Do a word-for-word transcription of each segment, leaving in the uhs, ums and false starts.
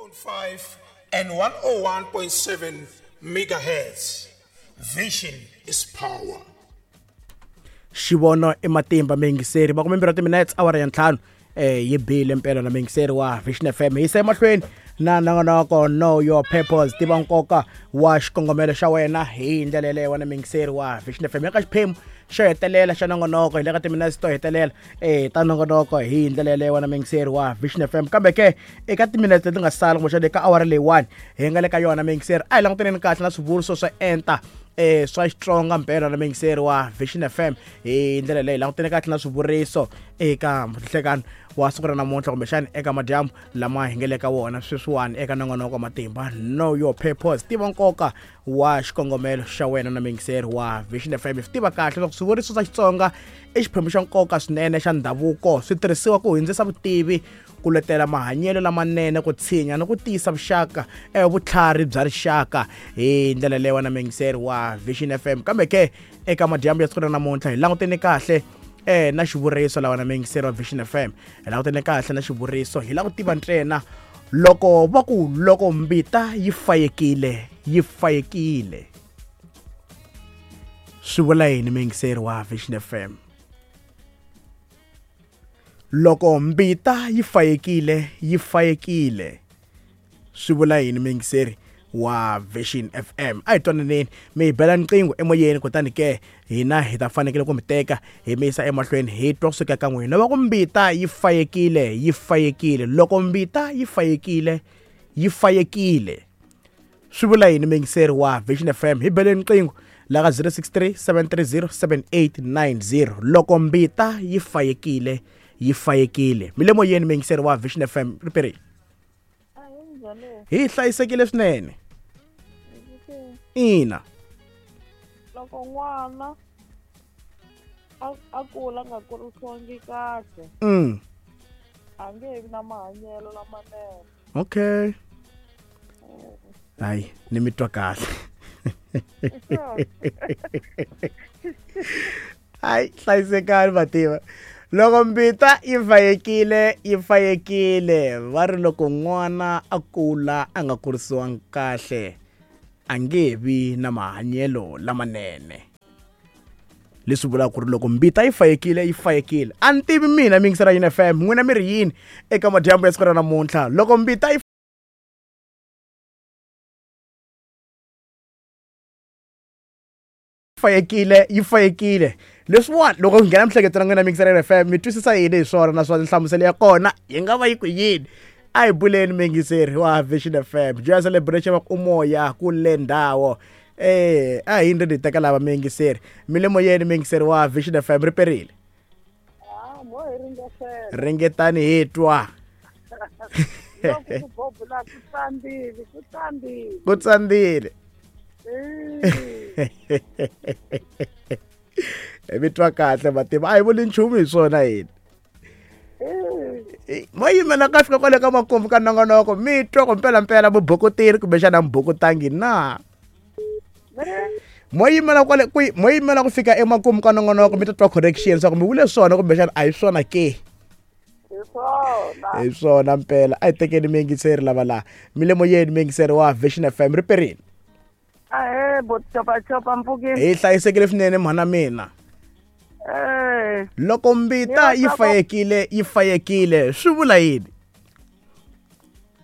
point five and one oh one point seven megahertz. Vision is power. Xivono i matimba miyingiseri makume mbirhi timinutes awara ya ntlhanu eh yi bile mpela na miyingiseri wa Vision F M hi yisa emahlweni na nongonoko Know Your Purpose, tiva nkoka wa xikongomelo xa wena hi ndlela yeleyo wena miyingiseri wa Vision F M. Eka xiphemu xo hetelela xa nongonoko hi le ka timinutes to hetelela eh ta nongonoko hi ndlela yeleyo wena miyingiseri wa Vision F M. Kambe ke eka timinutes leti nga sala kumbexana eka awara leyiwani hi nga le ka yona miyingiseri a hi langutaneni kahle na swivuriso swo enta eh swa Xitsonga mpela na miyingiseri wa Vision F M hi ndlela leyi langutene kahle na swivuriso eka nhlekano wa siku ra namuntlha kumbexana eka madyambu lama hi nga le ka wona sweswiwani eka nongonoko wa matimba Know Your Purpose, tiva nkoka wa xikongomelo xa wena na miyingiseri wa Vision F M. Hi swi tiva kahle leswaku swivuriso swa Xitsonga i xiphemu xa nkoka swinene xa ndhavuko, swi tirhisiwa ku hundzisa vutivi, ku letela mahanyelo lamanene, ku tshinya ni ku tiyisa vuxaka eh vutlhari bya rixaka hi ndlela leyi wena miyingiseri wa Vision F M. Kambe ke eka madyambu ya siku ra namuntlha hi langutene kahle eh na xivuriso lawa na miyingiseri wa Vision F M. Hi langutene kahle na xivuriso, hi lava ku tiva ntsena loko va ku loko mbita yi fayekile yi fayekile swi vula yini miyingiseri wa Vision F M? Loko mbita yi fayekile yi fayekile swi vula yini miyingiseri wa Vision F M? A hi twananeni mi hi bela nqingho emoyeni, kutani ke hina hi ta fanekele ku mi teka hi mi yisa emahlweni hi twa kusuka ka n'wina. Va ku mbita yi fayekile yi fayekile, loko mbita yi fayekile yi fayekile swi vula yini miyingiseri wa Vision F M? Hi beleni nqingho la ka zero six three seven three zero seven eight nine zero. Loko mbita yi fayekile yi fayekile. Mi le moyeni miyingiseri wa Vision F M, riperile hi hlayisekile swinene. Ina, loko n'wana a kula nga kurisiwangi kahle mm a nge vi na mahanyelo lamanene. Okay, hayi ni mi twa kahle. Hayi hlayisekani mativa. Loko mbita yi fayekile yi fayekile, va ri loko n'wana a kula a nga kurisiwangi kahle a nge vi na mahanyelo lamanene. Leswi vulaka ku ri loko mbita yi fayekile yi fayekile. A ni tivi mina miyingiseri ya F M, n'wina mi ri yini eka madyambu ya siku ra namuntlha? Loko mbita yi fayekile yi fayekile, leswiwani loko ku nghena miehleketo na n'wina miyingiseri ya F M mi twisisa yini hi swona, naswona nhlamuselo ya kona yi nga va yi ku yini? A hi buleni miyingiseri wa Vision F M. Joya celebration va ku umoya kule ndhawo eh a hi ndzi teka lava miyingiseri. Mi le moyeni miyingiseri wa Vision F M, riperile ah mo hi ringetela ringetani hi twa loko ku bobula ku tsandzile ku tsandzile ku tsandzile mi twa kahle mativa, a hi vuli nchumu hi swona hina. Mo yimela ka fika kwale ka makumbu ka nongonoko mi twa ku mpelampela mubokoteri kumbexana mubokotangi na mo yimela kwale ku mo yimela ku fika emakumu ka nongonoko mi ta twa correction swa ku mi vule swona kumbexana a hi swona ke? Hi swona mpela. A hi tekeni miyingiseri lava laha mi le moyeni miyingiseri wa Vision F M, riperile. Ahe bochopachopa mpfukeni hi hlayisekile swinene mhana mina. Eh loko mbita yi fayekile yi fayekile swi vula yini?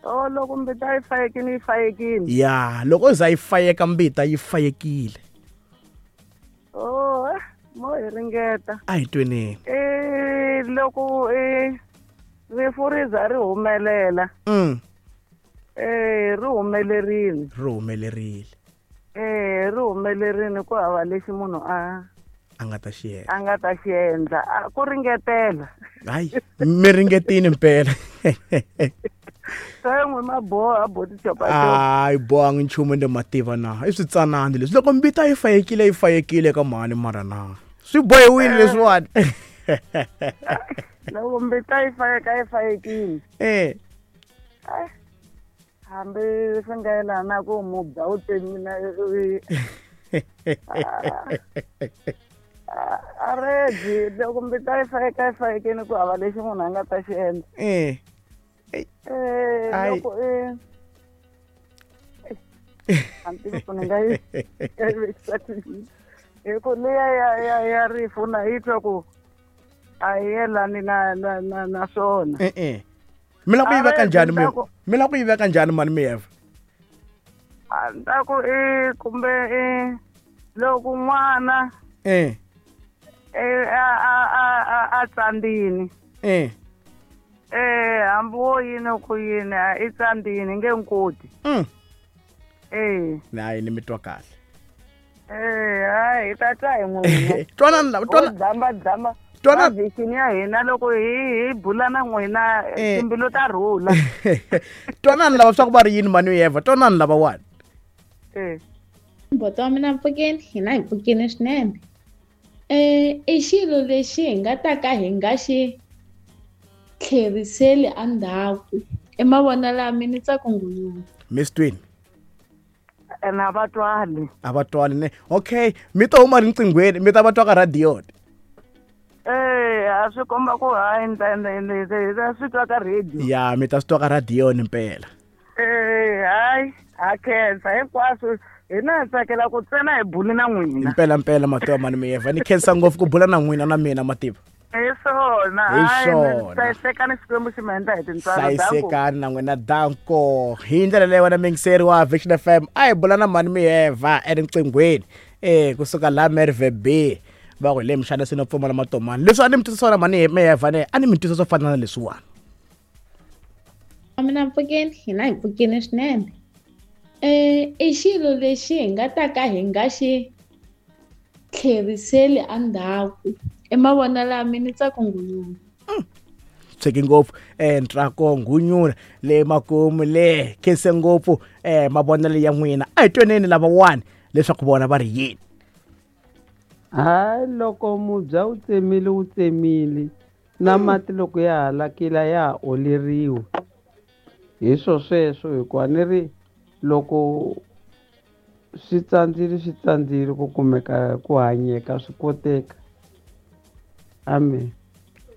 Oh, loko mbita yi fayekile yi fayekile ya loko za yi fayeka mbita yi fayekile. Oh, mo hi ringeta a hi tweneni. Eh loko eh rifu ri za ri humelela mm eh ri humelerile ri humelerile eh ri humelerile ku hava lexi munhu a a nga ta xi endla a nga ta xi endla ku ringetela. Hayi mi ringetini mpela. N'we maboha botichopachopa. Hayi bohangi nchumu ende mativa na i switsanani leswi loko mbita yi fayekile yi fayekile ka mhani mara na swi bohiwile leswiwani. Loko mbita yi fayeka yi fayekile eh hambi swi nga yelana ku mubya wu tsemile a redi loko mbita yi fayeka yi fayekile ku hava lexi munhu a nga ta xi endla. Eh Eh loko eh A ni tivi ku ni nga yi nga yi vekisa ku yini. Hi ku liya ya ya ya rifu na yi twa ku a yi yelani na na na na swona. E-e mi lava ku yi A veka ve njhani mi ni ta ku mi lava ku yi veka njhani mani miyeva a ni ta ku i kumbe i loko n'wana e eh, a a a a a tsandzini e eh hambi wo yini ku yini a i tsandzini nge nkoti mm eh hayi ni mi twa kahle eh hayi hi ta twa hi n'wina twanani lava ho twana dzamba dzamba twana vhikini ya hina loko hi hi bula na n'wina Eh. timbilu ta rhula twanani lava swa ku va ri yini mani miyeva twanani lavawani eh Mbuti wa mina mpfukeni hina hi pfukile swinene um i xilo lexi hi nga ta ka hi nga xi tlheriseli endzhaku i mavonelo ya mina Ntsako Ngulungu miss twin ene a va twali a va twani ne okay mi to huma riqinghweni mi ta va twa ka radio eh a swi komba ku hayi ni ta ni ni ni ta swi twa ka radio ya mi ta swi twa ka radio ni mpela eh hayi ha khensa hinkwaswo hina hi tsakela ku ntsena hi buli na n'wina mpela mpela mativa mani miyeva ni khensa ngopfu ku bula na n'wina na mina mativa hi swona Hi hayi swona. hlayisekani Xikwembu xi mi endla hi tintswalo danko hlayisekani na n'wina danko hi ndlela leyi wena mingiseri wa Vision F M a hi bula na mani miyeva eriqinghweni eh kusuka laha Merve B va ku hi le mixana swi no pfumala matomani leswi a ni mi twisa swona mani miyeva ne a ni mi twisa swo fana na leswiwani wa mina mpfukeni hina hi pfukile swinene um i xilo lexi hi nga ta ka hi nga xi tlheriseli endzhaku i mavonelo ya mina Ntsako Ngulungu tshiki ngopfu eh ntrako ngunyula le makumu le khense ngopfu eh mavonelo ya n'wina a hi tweneni lavawani leswaku vona va ri yini Hayi loko mubya wu tsemile wu tsemile na mati loko ya halakile ya ha oleriwa hi swo sweswo hikuva ni ri loko swi tsandzile swi tsandzile ku kumeka ku hanyeka swi koteka amen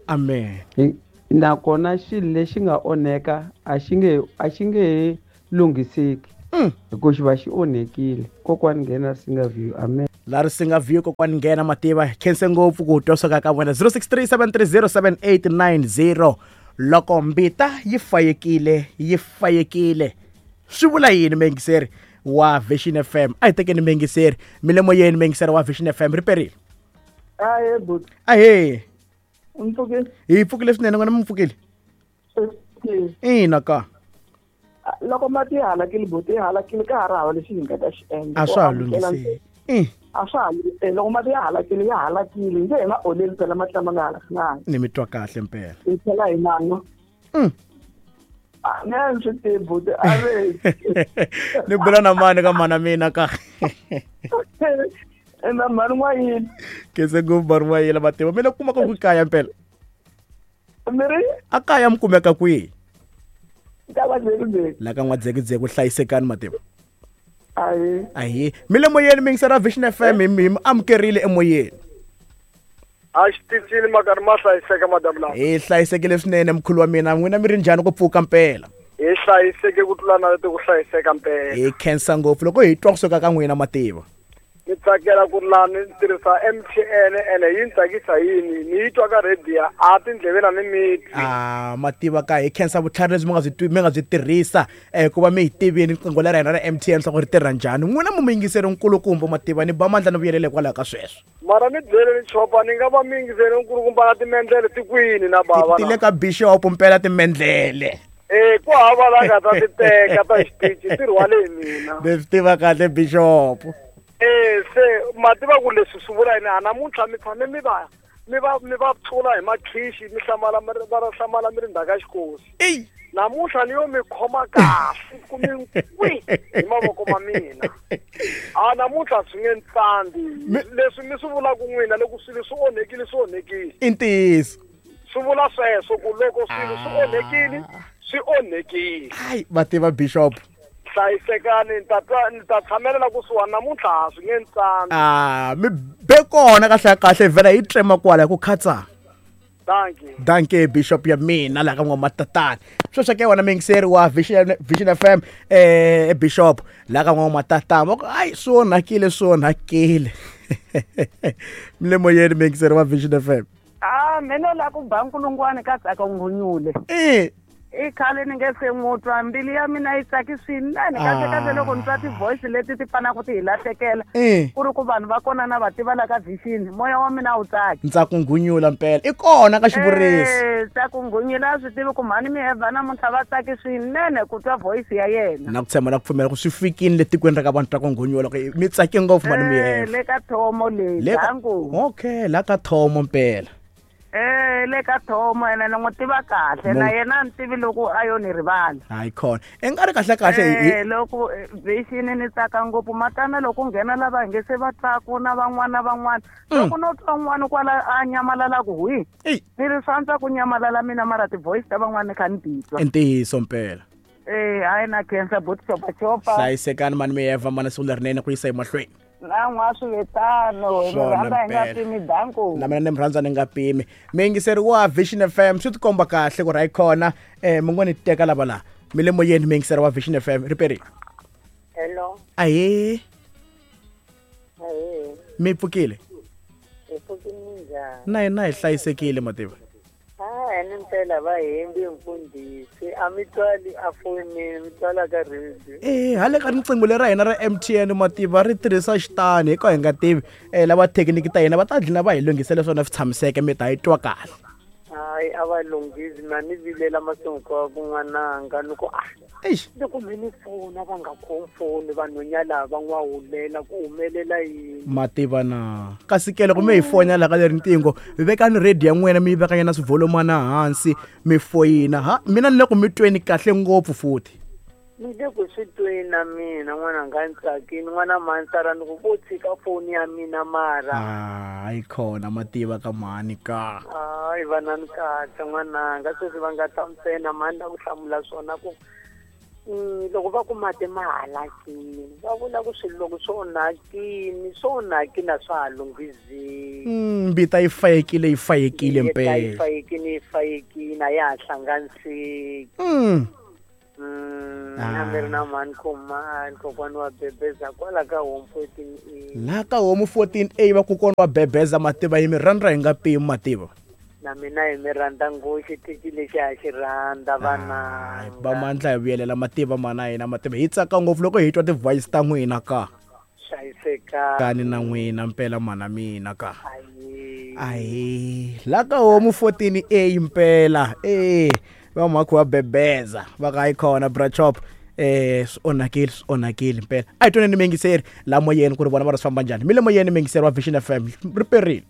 amen Hi- nakona xilo lexi nga onheka a xi nge a xi nge he lunghiseki Mm. hikuva xi va xi onhekile kokwani nghena singa view amen la ri singa view kokwani nghena mativa khense ngopfu ku twa swaka ka vona zero six three seven three zero seven eight nine zero loko mbita yi fayekile yi fayekile swi vula yini mengiseri wa Vision F M a hi tekeni mengiseri mi le moyeni mengiseri wa Vision F M ri perile Ahee buti, ahee u mpfukile? hi pfukile swinene n'wina mi pfukile ina ka Loko mati ya halakile buti ya halakile ka ha ri hava lexi hi nga ta xi endla. a swa ha Ku amukela lunghiseki i A swa ha eh, loko mati ya halakile ya halakile nge hi ma oleli phela mati lama nga halakanga. ni mi twa kahle mpela Hi tlhela hi ma nwa. Mm. A ni a ni swi tivi buti a ve ni bula na mani ka mana mina ka na mhani n'wayini khense ngopfu mhani n'wayila mativa mi le kumaka ku kaya mpela mi ri a kaya mi kumeka kwihi ka vadzekudzeku. la ka n'wadzekudzeku hlayisekani mativa Ahee. ahi mi le moyeni mingisera Vision F M hi mi hi mi amukerile emoyeni a xitichini makarhi ma hlayiseka madamu lawa hi hlayisekile swinene mkhulu wa mina n'wina mi ri njhani ku pfuka mpela hi hlayiseke ku tlula na leti ku hlayiseka mpela hi khensa ngopfu loko hi twa kusuka ka n'wina mativa ni tsakela ku laha ni tirhisa M T N ene yi ni tsakisa yini ni yi twa ka radio a tindleveni a ni mi twi a mativa ka hi khensa vutlhari lebyi mi nga byi twi- mi nga byi tirhisa um ku va mi hi tivini riqingho leri hina ra M T N swa ku ri tirha njhani n'wina mu muyingiseri nkulukumba mativa ni ba mandla ni vuyelele hikwalaho ka sweswo mara ni byele ni chopa ni nga va mi yingiseri nkulukumba na timendlele tikwini na bava ti le ka bishop mpela timendlele e ku hava la nga ta ti teka ta xitichi ti rhwale hi mina ni swi tiva kahle bishop e se ma tiva ku leswi swi vula yini a namuntlha mi tshame mi va mi va mi va tshula hi makhixi mi hlamala mi ri- va ra hlamala mi ri ndzhaka ya xikosi eyi namuntlha ni yo mi khoma kahle ku mi kwi hi mavoko ma mina a namuntlha swi nge ntsandzi leswi mi swi vulaka n'wina loko swilo swi onhekile swi onhekile i ntiyiso swi vula sweswo ku loko swilo swi onhekile swi onhekile hayi va tiva bishop hlayisekani ni ta twa ni ta tshamelela kusuhani namuntlha a swi nge ntsandzi a mi be kona kahle kahle vhela hi tsema kwala hi ku khatsa Dankie. Dankie Bishop ya mina la ka n'wamatatana. Sweswo ke wena mingiseri wa Vision Vision F M eh Bishop la ka n'wamatatana. Va ku ai swi onhakile swi onhakile. Mle moyeni mingiseri wa Vision F M. Ah mina la ku ba nkulungwane ka tsaka ngunyule. Eh i khale ni nge se n'wi twa mbilu ya mina yi tsaki swinene kahle kahle loko ni twa ti-voice leti ti fanaka ti hi lahlekela ku ri ku vanhu va kona na va tiva la ka Vision moya wa mina wu tsaki. Ntsako ngunyula mpela i kona ka xivuriso. Ntsako ngunyula a swi tivi ku mhani Miheva namuntlha va tsaki swinene ku twa voice ya yena. Na ku tshemba na ku pfumela ku swi fikile le tikweni ra ka vanhu Ntsako ngunyula ku mi tsake ngopfu mhani Miheva. Le ka thomo leyi danku. Okay la ka thomo mpela. Eh le ka thomo ene ni n'wi tiva kahle na yena ni tivi loko a yo ni rivala. Hayi khona i nga ri kahle kahle eh loko Vision ni tsaka ngopfu matana loko nghena lava nge se va tsaku na van'wana van'wana loko no twa un'wana kwala a nyamalala ku hwi ni ri swantswa ku nyamalala mina mara ti-voice ta van'wana kha ni titwa. I ntiyiso mpela. Eh hayi na khensa buti chopa chopa. Hlayisekani mani Miheva mana siku lerinene ku yisa emahlweni. Na n'wa swivetano hi rhandza hi nga pimi danko. Na mina ni mi rhandza ni nga pimi. Miyingiseri wa Vision F M swi tikomba kahle ku ri hayi khona eh mi ngo ni teka lava la. Mi le moyeni miyingiseri wa Vision F M ri perile. Hello. Ahee. Ahee. Mi pfukile? Hi pfukile njhani? Na hina hi hlayisekile mativa. Ah, ni mpela va hembi mfundhisi a mi twali a fonini mi twala ka radio. Eh hale ka riqingho leri ra hina ra M T N mativa ri tirhisa xitani hikuva hi nga tivi eh lava thekiniki ta hina va ta dlina va hi lunghisela swona swi tshamiseke mi ta yi twa kahle. Hayi a va lunghisi na ni vilela masiku ku n'wananga ni ku ah eish loko mi ni fona va nga khomi foni vanhwenya lava va n'wahulela ku humelela yini mativa na kasi ke loko mi hi fonya la ka leri ntingo vekani radio ya n'wina mi yi vekanyana swivolomana hansi mi foyina ha mina ni le ku mi tweni kahle ngopfu futhi ni le ku swi tweni na mina n'wananga ni tsakini n'wana mansara ni ku vo tshika foni ya mina mara hayi khona mativa ka mhani ka hayi vana ni kahle n'wananga sweswi va nga ta ntsena mhani la ku hlamula swona ku loko va ku mati ma halakini va vula ku swilo loko swi onhakini swi onhakini a swa ha lunghizeki. Mbita yi fayekile yi fayekile mpela yi fayekile yi fayekile a ya ha hlanganiseki. Na mi ri na mhani khomani kokwani wa bebeza kwala ka home fourteen A. La ka home fourteen A va kokwana wa bebeza mativa yi mi rhandza hi nga pimi mativa. Na mina hi mi rhandza ngopfu xitichi lexi a xi rhandza vana. Va mandla hi vuyelela mativa mana hina mativa hi tsaka ngopfu loko hi twa ti-voice ta n'wina ka. Hlayiseka. Kani na n'wina mpela mana mina ka. Ahi. La ka home fourteen A mpela eh va mhakho wa bebeza va ka yi khona bra chop eh swi onhakile swi onhakile mpela a hi twaneni mingiseri la moyeni ku ri vona va ri swi famba njhani mi le moyeni mingiseri wa Vision F M ri perile.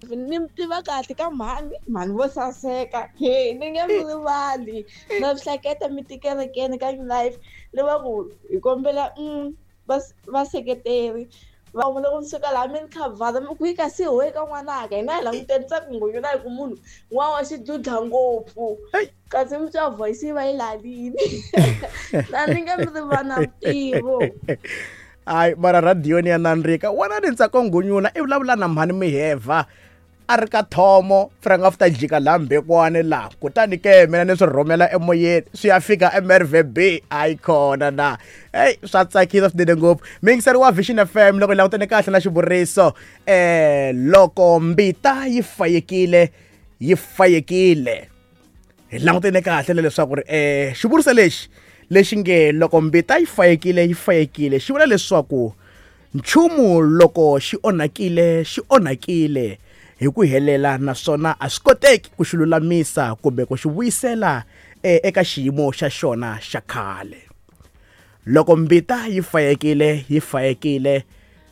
Ni mi tiva kahle ka mhani mhani vo saseka he ni nge mi rivali na swi hleketa mi tikerekeni ka life le va ku hi kombela vaseketeri va loko mi suka laha mi ni khavhara mi ku yi kasi hoyi ka n'wanaka hina hi languteni Ntsako Ngunyula hi ku munhu n'wana wa xidludla ngopfu kasi mi twa voice yi va yi lalini na ni nge mi rivana ntivo. Hayi mara radio ni ya nandzika wena ni Ntsako Ngunyula i vulavula na mhani Miheva a ri ka thomo frank after jika laha mbekwane laha kutani ke mina ni swi rhumela emoyeni swi ya fika M R V B hayi khona na hey swa tsakisa swinene ngopfu mingiseri wa Vision F M loko hi langutene kahle na xivuriso eh loko mbita yi fayekile yi fayekile hi langutene kahle leswaku ri eh xivuriso lexi lexi nge loko mbita yi fayekile yi fayekile xi vula leswaku nchumu loko xi onhakile xi onhakile hi ku helela naswona a swi koteki ku xi lulamisa kumbe ku xi vuyisela eka xiyimo xa xona xa khale. Loko mbita yi fayekile yi fayekile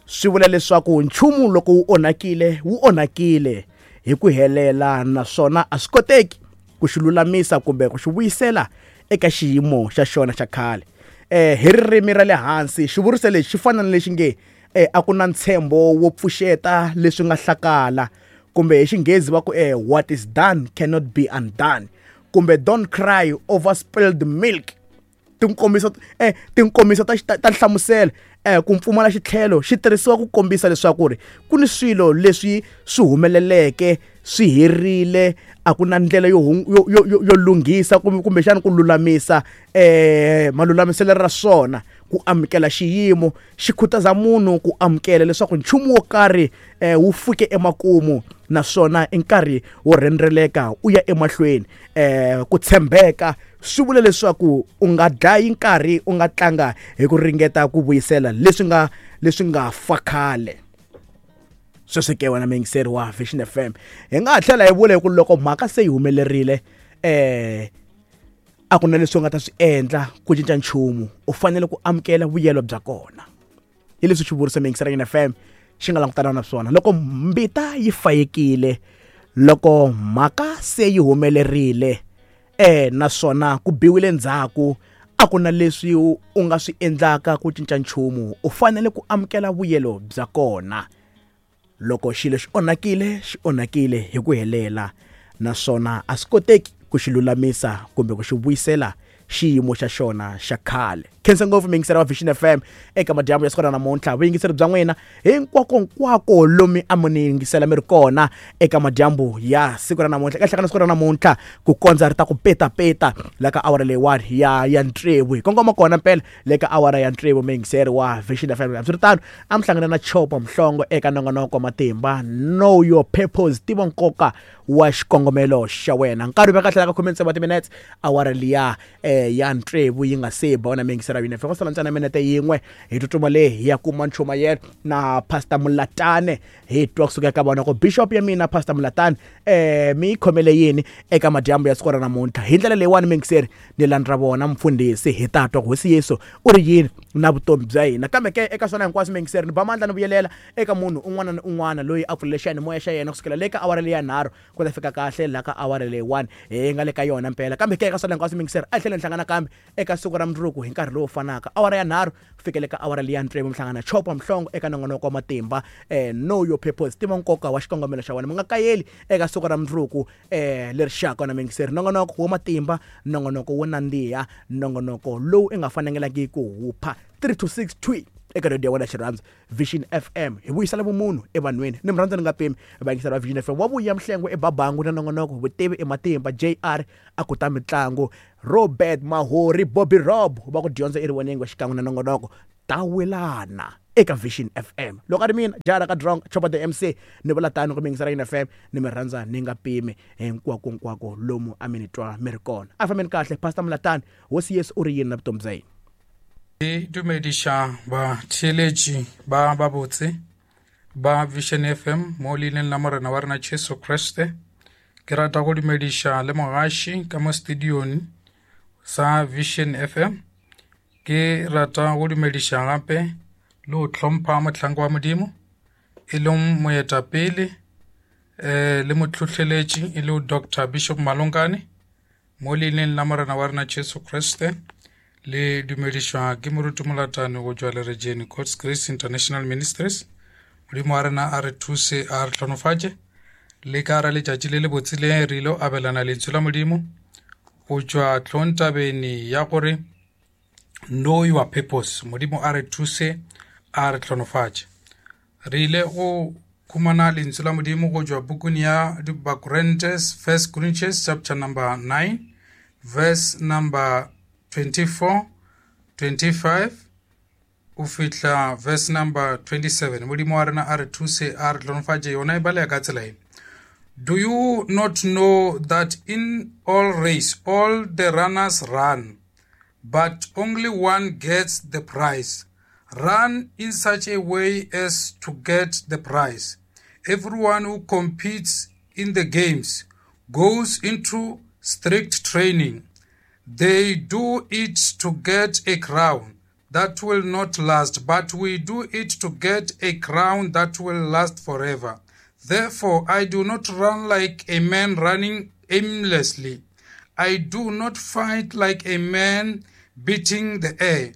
swi vula leswaku nchumu loko wu onhakile wu onhakile hi ku helela naswona a swi koteki ku xi lulamisa kumbe ku xi vuyisela eka xiyimo xa xona xa khale. Eh hi ririmi ra le hansi xivuriso lexi xi fana na lexi nge eh a ku na ntshembo wo pfuxeta leswi nga hlakala kumbe hi xinghezi va ku eh what is done cannot be undone kumbe don't cry over spilled milk. Tinkomiso eh tinkomiso ta ta nhlamuselo eh ku pfumala xitlhelo xi tirhisiwa ku kombisa leswaku ri ku ni swilo leswi swi humeleleke swi herile a ku na ndlela yo yo yo lunghisa kumbe kumbexana ku lulamisa eh malulamiselo ra swona. Ku amukela xiyimo xi khutaza munhu ku amukela leswaku nchumu wo karhi eh wu fike emakumu naswona i nkarhi wo rhendzeleka u ya emahlweni. Eh ku tshembeka swi vula leswaku u nga dlayi nkarhi u nga tlanga hi ku ringeta ku vuyisela leswi nga leswi nga fa khale. Sweswo ke wena muyingiseri wa Vision F M hi nga tlhela hi vula hi ku loko mhaka se yi humelerile eh a ku na leswi u nga ta swi endla ku cinca nchumu, u fanele ku amukela vuyelo bya kona. Hi leswi xivuriso muyingiseri wa F M xi nga langutana na swona loko mbita yi fayekile, loko mhaka se yi humelerile eh naswona ku biwile ndzhaku a ku na leswi u nga swi endlaka ku cinca nchumu, u fanele ku amukela vuyelo bya kona. Loko xilo xi onhakile xi onhakile hi ku helela naswona a swi koteki ku xi lulamisa kumbe ku xi vuyisela xiyimo xa xona xa khale. Khensa ngopfu muyingiseri wa Vision F M eka madyambu ya siku ra namuntlha. Vuyingiseri bya n'wina hinkwako nkwako lomi a mi ni yingisela mi ri kona eka madyambu ya siku ra namuntlha. Eka hlangana siku ra namuntlha ku kondza ri ta ku petapeta la ka awara leyiwani ya ya ntsevu hi kongoma kona mpela le ka awara ya ntsevu muyingiseri wa Vision F M. Hambiswiritano a mi hlangana na Chopa Mhlongo eka nongonoko wa matimba Know Your Purpose, tiva nkoka wa xikongomelo xa wena. Nkarhi wu veka tlhela ka khume tsevu wa timinetse awara liya eh ya ntsevu yi nga se ba wena muyingiseri wa Vision F M. Ku sala ntsena minete yin'we hi tsutsuma le hi ya kuma nchumayelo na Pastor Mulatane hi twa kusuka eka vona ku Bishop ya mina Pastor Mulatane eh mi yi khomele yini eka madyambu ya siku ra namuntlha. Hi ndlela leyiwani muyingiseri ni landza vona mfundhisi hi ta twa ku Hosi Yesu u ri yini na vutomi bya hina. Kambe ke eka swona hinkwaswo muyingiseri ni ba mandla ni vuyelela eka munhu un'wana na un'wana loyi a pfulele xiyanimoya xa yena kusukela le ka awara leyi ya nharhu ku ta fika kahle la ka awara leyiwani hi nga le ka yona mpela. Kambe ke eka swona hinkwaswo muyingiseri a hi tlhela ni hlangana kambe eka siku ra mundzuku hi nkarhi lowu fanaka awara ya nharhu fikele ka awara leyi ya ntsevu mihlangana Chopa Mhlongo eka nongonoko wa matimba eh Know Your Purpose, tiva nkoka wa xikongomelo xa wena. Mi nga kayeli eka siku ra mundzuku eh leri xaka na muyingiseri nongonoko wa matimba, nongonoko wo nandziha, nongonoko lowu i nga fanelangiki ku hupha three to six twi eka radio ya wena xirhandzu Vision F M. Hi vuyisela vumunhu evanhwini ni murhandza ni nga pimi vayingiseri va Vision F M. Wa vuya Mhlengwe eBabangu na nongonoko vutivi ematimba J R a ku ta mitlangu Robert Mahori Bobby Rob va ku dyondza eriwaneni wa xikan'we na nongonoko ta welana eka Vision F M. Loko a ri mina jara ka drunk Chopa the M C ni vula tano ku muyingiseri wa F M ni mi rhandza ni nga pimi hinkwako nkwako lomu a mi ni twa mi ri kona. A fambeni kahle. Pastor Mulatane, Hosi Yesu u ri yini na vutomi bya yena? Ke dumediša batheeletši ba babotse ba Vision F M mo leineng la Morena wa rena Jesu Kriste. Ke rata go dumediša le mogaši ka mo studiong sa Vision F M. Ke rata go dumediša gape le go hlompha mohlanka wa Modimo e leng moetapele eh le motlhohleletši e le Doctor Bishop Malonkane mo leineng la Morena wa rena Jesu Kriste. Le dumedišwa ke moruti Molatane go tšwa Lerejeni God's Grace International Ministries. Modimo wa rena a re thuse a re hlonofatše le ka ra letšatši le le botse le re ile abelana lentswe la Modimo go tšwa tlontabeni ya gore Know Your Purpose. Modimo a re thuse a re hlonofatše. Re ile go khumana lentswe la Modimo go tšwa bukung ya Bakorinthe, First Corinthians chapter number nine verse number twenty-four, twenty-five o fihla verse number twenty-seven. Modimo wa rena a re thuse a re hlonofatše. Yona e baleya ka tsela e. Do you not know that in all race all the runners run, but only one gets the prize? Run in such a way as to get the prize. Everyone who competes in the games goes into strict training. They do it to get a crown that will not last, but we do it to get a crown that will last forever. Therefore, I do not run like a man running aimlessly. I do not fight like a man beating the air.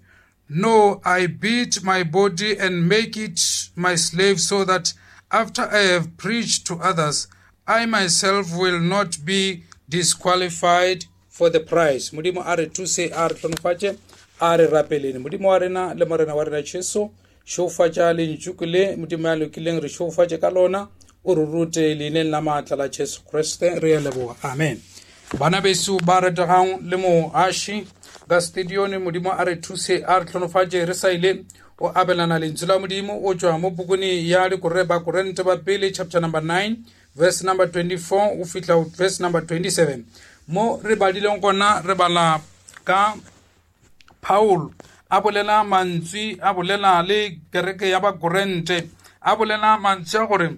No, I beat my body and make it my slave, so that after I have preached to others, I myself will not be disqualified for the prize. Modimo a re thuse, a re hlonofatše, a re rapeleng. Modimo wa rena le morena wa rena Jesu, šofatša lentšu le Modimo ya lokileng, re šofatše ka lona, o re rute leineng la maatla la Jesu Kriste, re a leboga, amen. Bana beso ba rategang le moaši ka stadione, Modimo a re thuse, a re hlonofatše. Re sa ile o abelana lentswe la Modimo o tšwa mo pukung ya Dikorre ba Korente ba pele, chapter number nine verse number twenty-four o fihla verse number twenty-seven. Mo re badileng gona re bala ka Paul a bolela mantswe, a bolela le kereke ya Bakorente, a bolela mantswe a gore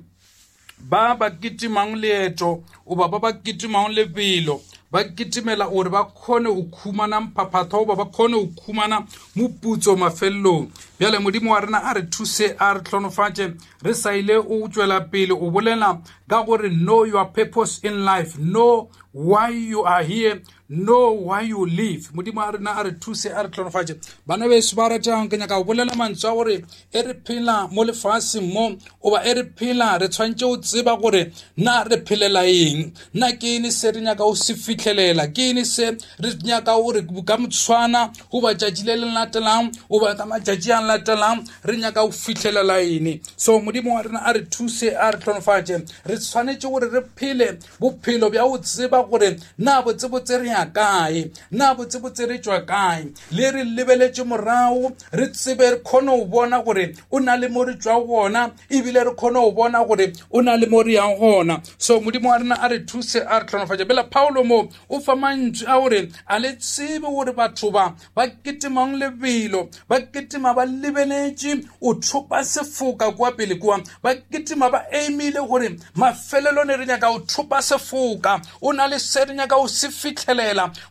ba ba kitimang leeto oba ba ba kitimang lebelo, ba kitimela gore ba kgone go khumana mphaphatho oba ba kgone go khumana moputso mafelelong. Bjale Modimo wa rena a re thuse, a re hlonofatše. Re sa ile o tšwela pele o bolela ka gore know your purpose in life, know why you are here, know why you live. Modimo a rena a re thuse, a re hlonofatše. Bana beso ba ratang, ke nyaka go bolela mantswe a gore e re phela mo lefaseng mo oba e re phela, re tshwanetse go tseba gore na re phelela eng, na ke eng se re nyaka go se fitlhelela, ke eng se re nyaka gore ka motshwana goba tšatši le le latelang goba ka matšatši a latelang re nyaka go fitlhelela eng. So Modimo wa rena a re thuse, a re hlonofatše. Re tshwanetse gore re phele bophelo bja go tseba gore na botsebotse re ya kae, na botsebotse re tšwa kae, le re lebeletše morago, re tsebe re kgone go bona gore o na le mo re tšwa gona, ebile re kgone go bona gore o na le mo re yang gona. So Modimo wa rena a re thuse, a re hlonofatše. Bela Paulo mo o fa mantswe a gore a le tsebe gore batho ba ba kitimang lebelo, ba kitima ba lebeletše o thopa sefoka kwa pele kwa, ba kitima ba aimile gore mafelelong re nyaka go thopa sefoka, o na le se re nyaka go se fitlhelela.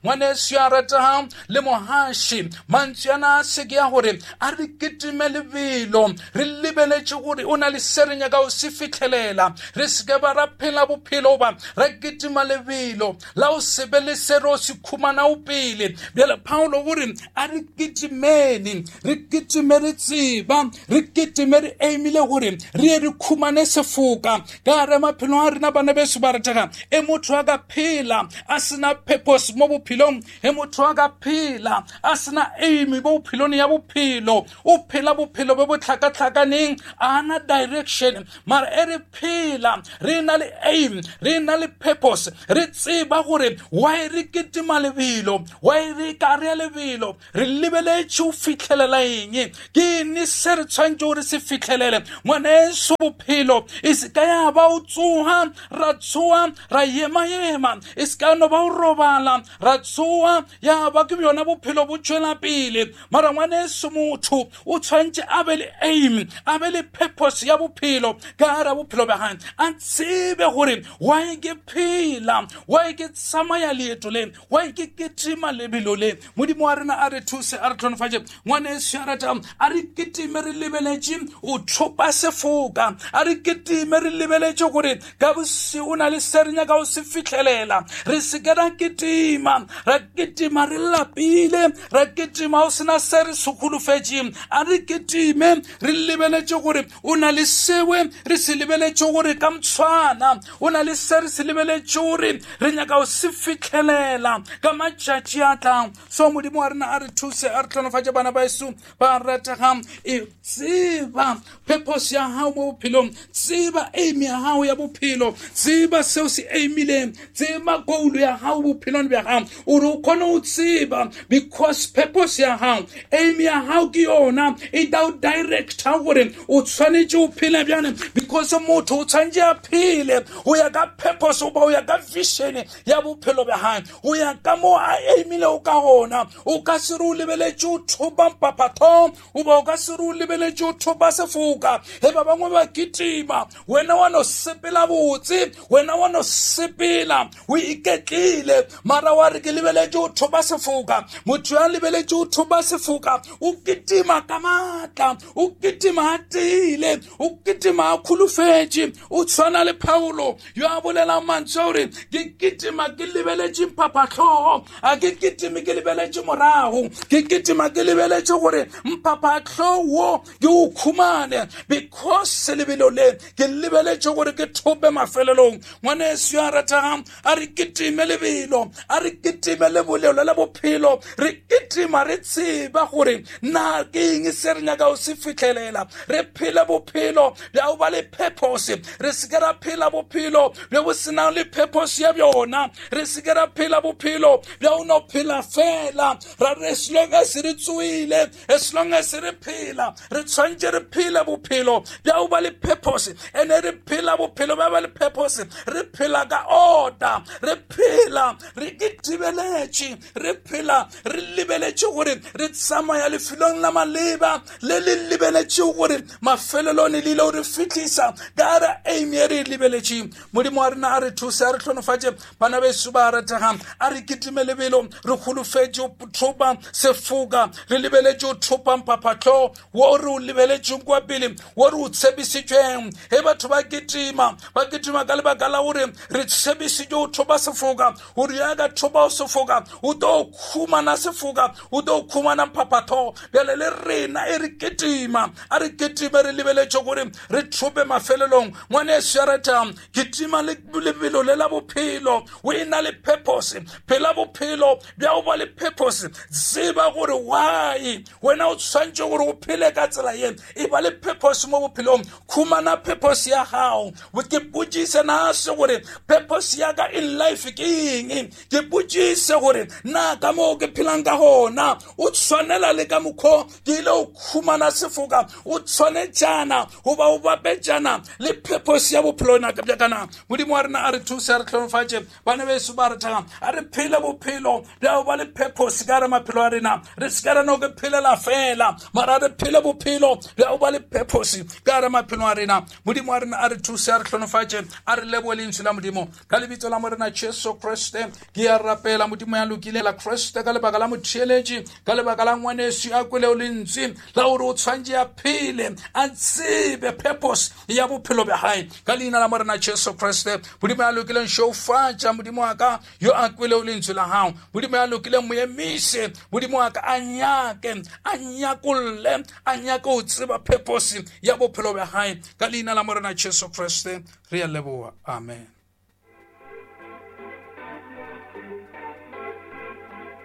Ngwaneso ya ratang le mohaši, mantswe ana a se ke ya gore a re kitime lebelo, re lebeletše gore o na le se re nyaka go se fitlhelela. Re se ke ba ra phela bophelo ba ra kitima lebelo la o se be le se re o se khumana o pele. Bjale Paulo gore a re kitimeni, re kitime re tseba, re kitime re aimile gore re ye re khumane sefoka ka re maphelo a rena. Bana beso ba ratega, e motho a ka phela a sena purpose mo bophelong, e motho a ka phela a sena aim mo bophelong ya bophelo, o phela bophelo bo bo tlhakatlhakaneng, a na direction. Mara e re phela re na le aim, re na le purpose, re tseba gore why re kitima lebelo, why re ka re lebelo, re lebeletše go fitlhelela eng, ke eng se re tshwanetse gore se fitlhelele. Ngwaneso, bophelo e se ka ya ba o tsoha ra tsoha ra yema-yema, e se ka no ba o robala ra tsoha ya ba ke bjona bophelo bo tšwela pele. Mara ngwaneso, motho o tshwanetse a be le aim, a be le purpose ya bophelo ka gare bophelo bja gagwe, a tsebe gore why ke phela, why ke tsamaya leeto le, why ke kitima lebelo le. Modimo wa rena a re thuse, a re hlonofatše. Ngwaneso ya ratang, a re kitime re lebeletše o thopa sefoka, a re kitime re lebeletše gore ka bosigo o na le se re nyaka go se fitlhelela. Re se ke ra kitima, ra kitima re lapile, ra kitima o sena se re se holofetšeng. A re kitime re lebeletše gore o na le sewe re se lebeletše gore ka motshwana o na le se re se lebeletše gore re nyaka go se fitlhelela ka matšatši a tlang. So Modimo wa rena a re thuse, a re hlonofatše. Bana ba eso ba rategang, e tseba purpose ya gago mo bophelong, tseba aim ya gago ya bophelo, tseba seo se aimileng, tseba goal ya gago bophelong bja gago, ore o kgone go tseba, because purpose ya gago, aim ya gago ke yona e tla o directa gore o tshwanetse o phele bjang, because motho o tshwanetse a phele go ya ka purpose goba go ya ka vision ya bophelo bja gagwe, go ya ka mo a aimilego ka gona. O ka se re o lebeletše o thopa mpaphatho, goba o ka se re o lebeletše o thopa sefoka. Ge ba bangwe ba kitima, wena wa no sepela botse, wena wa no sepela o iketlile, mara wa re ke lebeletše o thopa sefoka. Motho ya lebeletše o thopa sefoka o kitima ka maatla, o kitima a tiile, o kitima a holofetše o tshwana le Paulo yo a bolelang mantswe gore ke kitima ke lebeletše mphaphahlogo a ke kitime ke lebeletše morago ke kitima ke lebeletše gore mphaphahlogo wo ke o khumane because lebelo le ke lebeletše gore ke thope mafelelong. Ngwaneso ya rategang a re kitime lebelo a re kitime lebolelo la bophelo re kitima re tseba gore na ke eng se re nyaka o se fihlelela re phele bophelo bja go ba le purpose re se ke ra phela bophelo bjo bo senang le purpose ya bjona re se ke ra phela bophelo bja go no phela fela ra re as long as re tsoile as long as re phela re tshwanetse re phele bophelo bja go ba le purpose ene re phela bophelo bja ba le purpose re phela ka order re phela re kitibeletše re phela re lebeletše gore re tsamaya lefelong la maleba le le lebeletše gore mafelelong le ile re fitlhisa ka re aim ye re lebeletše. Modimo wa rena a re thuse a re hlonofatše bana beso ba rategang a re kitime lebelo re holofetše go thopa sefoka re lebeletše go thopa mphaphahlogo wo re o lebeletšeng kwa pele wo re o tshepisitšweng. Ge batho ba kitima ba kitima ka lebaka la gore re tshepisitše go thopa sefoka gore ya ka thopa sefoka o tlo khumana sefoka o tlo khumana mphaphahlogo. Bjale le rena e re kitima a re kitime re lebeletše gore re thope mafelelong. Ngwaneso ya ratang kitima le lebelo le la bophelo o e na le purpose phela bophelo bja go ba le purpose tseba gore why wena o tshwanetse gore o phele ka tsela ye e ba le purpose mo bophelong khumana purpose ya gago ke potšise na se gore purpose ya ka in life ke eng ke potšise gore na ka moo ke phelang ka gona o tshwanela le ka mokgwa ke ile o khumana sefoka o tshwanetšana goba o bapetšana le purpose ya bophelo bja kana. Modimo wa rena a re thuse a re hlonofatše bana beso ba rategang a re phele bophelo bja go ba le purpose ka re maphelo a rena re se ka ra no ke phelela fela mara re phele bophelo bja go ba le purpose ka re maphelo a rena. Modimo wa rena a re thuse a re hlonofatše a re lebohe lentswe la Modimo ka lebitso la Morena Jesu Kriste ke a rapela. Modimo ya lokile la Kriste ka lebaka la motheeletši ka lebaka la ngwaneso a kweleo lentswe la gore o tshwanetse a phele a tsebe purpose ya bophelo bja gae ka leina la Morena Jesu Kriste. Modimo ya lokileng šeufatša Modimo wa ka yo a kweleo lentswe la gago Modimo ya lokileng mo emise Modimo wa ka a nyake a nyakolle a nyake go tseba purpose ya bophelo bja gae ka leina la Morena Jesu Kriste re a leboha. Amen.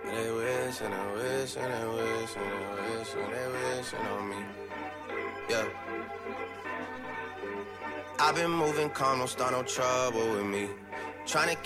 They wish and they wish and they wish and they wish and they wishing on me. Yeah. I've been moving calm, don't start no trouble with me. Trying to